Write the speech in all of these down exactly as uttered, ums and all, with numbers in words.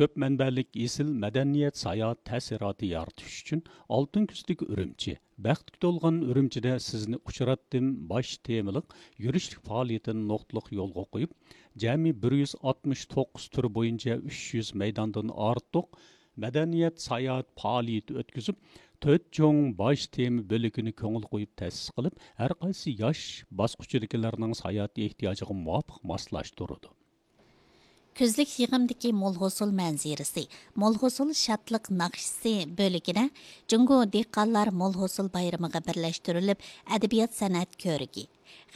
كۆپ مەنبەلىك ئېسىل مەدەنىيەت ساياھەت تەسىراتى يارىتىش ئۈچۈن ئالتۇن كۈزدىكى ئۈرۈمچى، بەختكە تولغان ئۈرۈمچىدە سىزنى ئۇچراتتىم باش تېمىلىق يۈرۈشلۈك پائالىيىتىنى نۇقتىلىق يولغا قويۇپ، جەمئىي بىر يۈز ئاتمىش توققۇز تۈر بويىچە ئۈچ يۈز مەيداندىن ئارتۇق مەدەنىيەت ساياھەت پائالىيىتى ئۆتكۈزۈپ، تۆت چوڭ باش تېما بۆلىكىنى كۆڭۈل قويۇپ تەسىس قىلىپ، ھەر قايسى ياش باسقۇچىدىكىلەرنىڭ ساياھەت ئېھتىياجىغا مۇۋاپىق ماسلاشتۇرىدۇ. كۈزلۈك يىغىمدىكى مول ھوسۇل مەنزىرىسى، مول ھوسۇل شادلىق ناخشىسى بۆلىكىدە جۇڭگو دېھقانلار مول ھوسۇل بايرىمىغا بىرلەشتۈرۈلۈپ ئەدەبىيات سەنئەت كۆرىكى،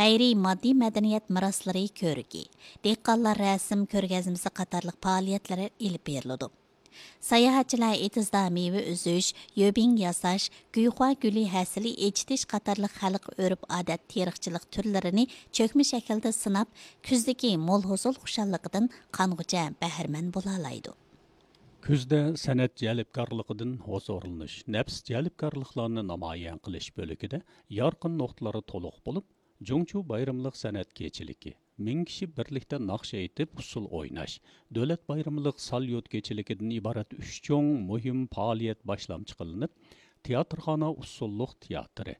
غەيرىي ماددىي مەدەنىيەت مىراسلىرى كۆرىكى، دېھقانلار رەسىم كۆرگەزمىسى قاتارلىق پائالىيەتلەر ئېلىپ بېرىلىدۇ. ساياھەتچىلەر ئېتىزدا مېۋە ئۈزۈش، يۆبىڭ ياساش، گۇيخۇا گۈلى ھەسىلى ئېچىتىش قاتارلىق خەلق ئۆرپ-ئادەت، تېرىقچىلىق تۈرلىرىنى چۆكمە شەكىلدە سىناپ، كۈزدىكى مول ھوسۇل خۇشاللىقىدىن قانغۇچە بەھرىمەن بولالايدۇ. كۈزدە سەنئەت جەلپكارلىقىدىن ھۇزۇرلىنىش، نەپىس جەلپكارلىقلارنى نامايان قىلىش بۆلىكىدە يارقىن نۇقتىلار تولۇق بولۇپ، جۇڭچۇ بايرىملىق سەنئەت كېچىلىكى، مىڭ كىشى بىرلىكتە ناخشا ئېيتىپ، ئۇسسۇل ئويناش، دۆلەت بايرىملىق ساليۇت كېچىلىكىدىن ئىبارەت ئۈچ چوڭ مۇھىم پائالىيەت باشلامچى قىلىنىپ، تىياتىرخانا ئۇسسۇللۇق تىياتىرى،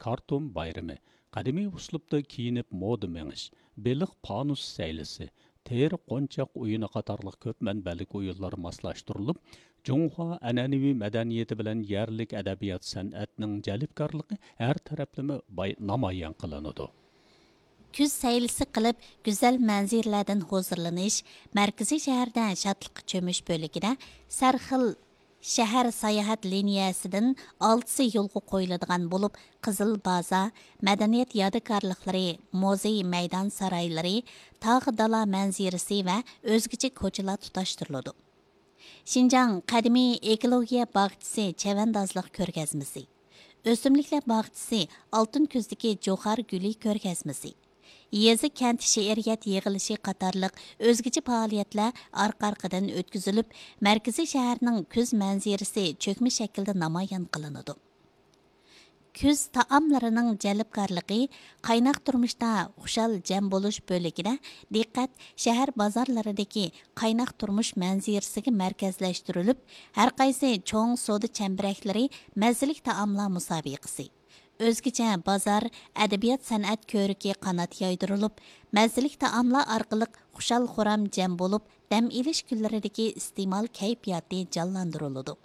كارتون بايرىمى، قەدىمىي ئۇسلۇبتا كىيىنىپ مودا مېڭىش، بېلىق پانۇس سەيلىسى، تېرە قونچاق ئويۇنى قاتارلىق كۆپ مەنبەلىك ئويۇنلار ماسلاشتۇرۇلۇپ، جۇڭخۇا ئەنئەنىۋى مەدەنىيىتى بىلەن يەرلىك ئەدەبىيات سەنئەتنىڭ جەلپكارلىقى ھەر تەرەپلىمە باي-، نامايان قىلىنىدۇ. كۈز سەيلىسى قىلىپ، گۈزەل مەنزىرىلەردىن ھۇزۇرلىنىش، مەركىزىي شەھەردە شادلىققا چۆمۈش بۆلىكىدە سەرخىل شەھەر ساياھەت لىنىيەسىدىن ئالتىسى يولغا قويۇلىدىغان بولۇپ، قىزىل بازار، مەدەنىيەت يادىكارلىقلىرى، مۇزېي مەيدان سارايلىرى، تاغ دالا مەنزىرىسى ۋە ئۆزگىچە كوچىلار تۇتاشتۇرۇلىدۇ. شىنجاڭ قەدىمىي ئېكولوگىيە باغچىسى چەۋەندازلىق كۆرگەزمىسى، ئۆسۈملۈكلەر باغچىسى ئالتۇن كۈزدىكى جوخار گۈلى كۆرگەزمىسى، يېزا، كەنت شېئىرىيەت يىغىلىشى قاتارلىق ئۆزگىچە پائالىيەتلەر ئارقا-ئارقىدىن ئۆتكۈزۈلۈپ، مەركىزىي شەھەرنىڭ كۈز مەنزىرىسى چۆكمە شەكىلدە نامايان قىلىنىدۇ. كۈز تائاملىرىنىڭ جەلپكارلىقى، قايناق تۇرمۇشتا خۇشال جەم بولۇش بۆلىكىدە دىققەت شەھەر بازارلىرىدىكى قايناق تۇرمۇش مەنزىرىسىگە مەركەزلەشتۈرۈلۈپ، ھەرقايسى چوڭ سودا چەمبىرەكلىرى مەززىلىك تائاملار مۇسابىقىسى، ئۆزگىچە بازار، ئەدەبىيات سەنئەت كۆرىكى قانات يايدۇرۇلۇپ، مەززىلىك تائاملار ئارقىلىق خۇشال-خۇرام جەم بولۇپ، دەم ئېلىش كۈنلىرىدىكى ئىستېمال كەيپىياتى جانلاندۇرۇلىدۇ.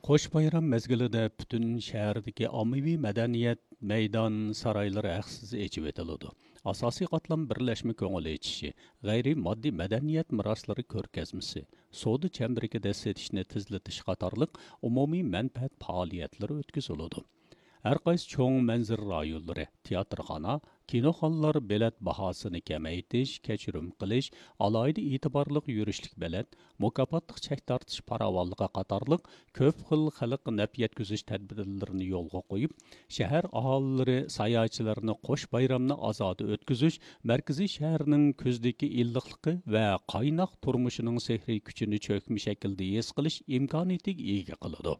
قوش بايرام مەزگىلىدە پۈتۈن شەھەردىكى ئاممىۋى مەدەنىيەت مەيدان سارايلىرى ھەقسىز ئېچىۋېتىلىدۇ. ئاساسىي قاتلام بىرلەشمە كۆڭۈل ئېچىشى، غەيرىي ماددىي مەدەنىيەت مىراسلىرى كۆرگەزمىسى، سودا چەمبىرىكىدە سېتىشنى تېزلىتىش قاتارلىق ئومۇمىي مەنپەئەت پائالىيەتلىرى ئۆتكۈزۈلىدۇ. ھەرقايسى چوڭ مەنزىرە رايونلىرى، تىياتىرخانا، كىنوخانىلار بېلەت باھاسىنى كېمەيتىش، كەچۈرۈم قىلىش، ئالاھىدە ئېتىبارلىق يۈرۈشلۈك بېلەت، مۇكاپاتلىق چەك تارتىش پاراۋانلىقى قاتارلىق كۆپ خىل خەلققە نەپ يەتكۈزۈش تەدبىرلىرىنى يولغا قويۇپ، شەھەر ئاھالىلىرى، ساياھەتچىلەرنى قوش بايرامنى ئازادە ئۆتكۈزۈش، مەركىزىي شەھەرنىڭ كۈزدىكى ئىللىقلىقى ۋە قايناق تۇرمۇشىنىڭ سېھرىي كۈچىنى چۆكمە شەكىلدە ھېس قىلىش ئىمكانىيىتىگە ئىگە قىلىدۇ.